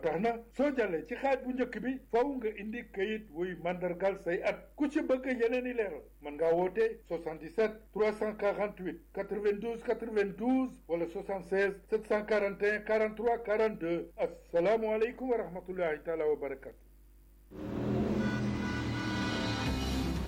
tax na soo jàllee ci xaaj bu njëkk bi faw nga indi kayit wuy mandargal say at ku ci bëgg yeneen i leeral mën ngaa woote 77 348 92 92 wala 76 741 43 42 asalaamualeykum wa rahmatullahi taala wa barakatu.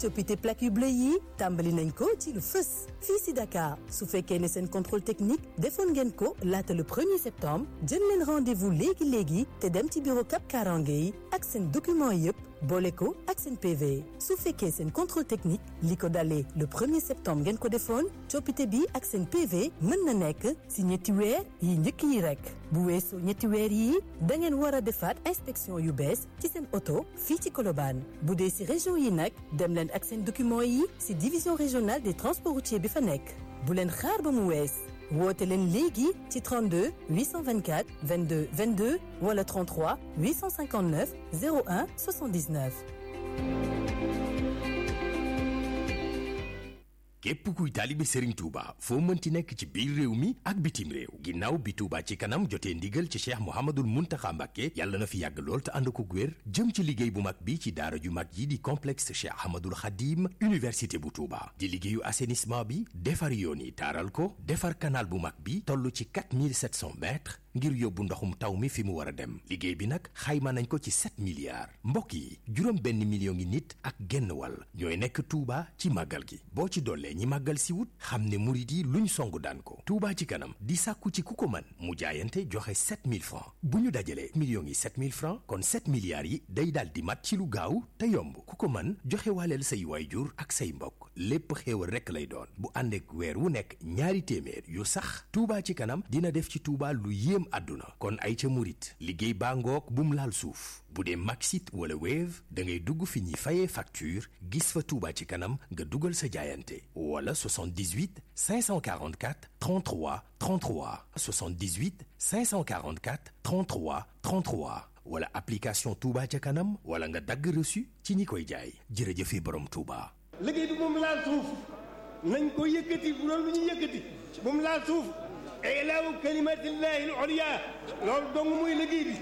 coppite plaque yu bleu yi tàmbali nañ ko ci lu fës fii si Dakar su fekkee ne seen contrôle technique defoon ngeen ko laata le 1er septembre jël leen rendez-vous léegi te dem ci bureau Cap Karange yi ak seen document yëpp boole ko ak seen PV su fekkee seen contrôle technique li ko dalee le 1er septembre ngeen ko defoon coppite bi ak seen PV mën na nekk si ñetti weer yi njëkk yi rek bu weesoo ñetti weer yi da ngeen war a defaat inspection yu bees ci seen oto fii ci Colobane bu dee si région yi nag dem leen ak seen document yi si division régionale des transports routiers bi fa nekk bu leen xaar ba mu wees woote leen léegi ci 32 824 22 22 wala 33 859 01 79. képp kuy taalibe Serigne Touba foo mënti nekk ci biir réew mi ak bitim réew ginnaaw bi Touba ci kanam jotee ndigal ci Cheikh Mouhamadoul Mountakha Mbacké yàlla na fi yàgg lool te ànd ko wér jëm ci liggéey bu mag bi ci daara ju mag yi di complexe Cheikh Ahmadoul Khadim université bu Touba di liggéeyu assainissement bi defar yoon yi taaral ko defar canal bu mag bi toll ci 4700 mètres ngir yóbbu ndoxum taw mi fi mu war a dem liggéey bi nag xayma nañ ko ci 7 milliards mbokk yi juróom benn million ngi nit ak genn wàll ñooy nekk Touba ci màggal gi boo ci dollee ñi màggal si wut xam ne murit yi luñ songu daan ko Touba ci kanam di sàkku ci ku ko mën mu jaayante joxe 7000 francs bu ñu dajalee millions yi 7000 francs kon 7 milliards yi day daal di mat ci lu gaaw te yomb ku ko mën joxe waaleel say waayjur ak say mbokk lépp xéewal rekk lay doon bu ànd ak weer wu nekk ñaari téeméer yu sax Touba ci kanam dina def ci Touba lu yéem àdduna kon ay ca murit liggéey baa ngoog bum laal suuf bu dee Maxit wala Wave da ngay dugg fi ñuy fayee facture gis fa Touba ci kanam nga dugal sa jaayante wala 78 544 33 33 78 544 33 33 wala application Touba ca kanam wala nga dagg reçu ci ñi koy jaay jërëjëfe borom Touba. liggéey bi moom laal suuf nañ ko yëkkati bu doon lu ñu yëkkati moom laal suuf ilaahu kalimatillahi al-ulya loolu dong muy liggéey bi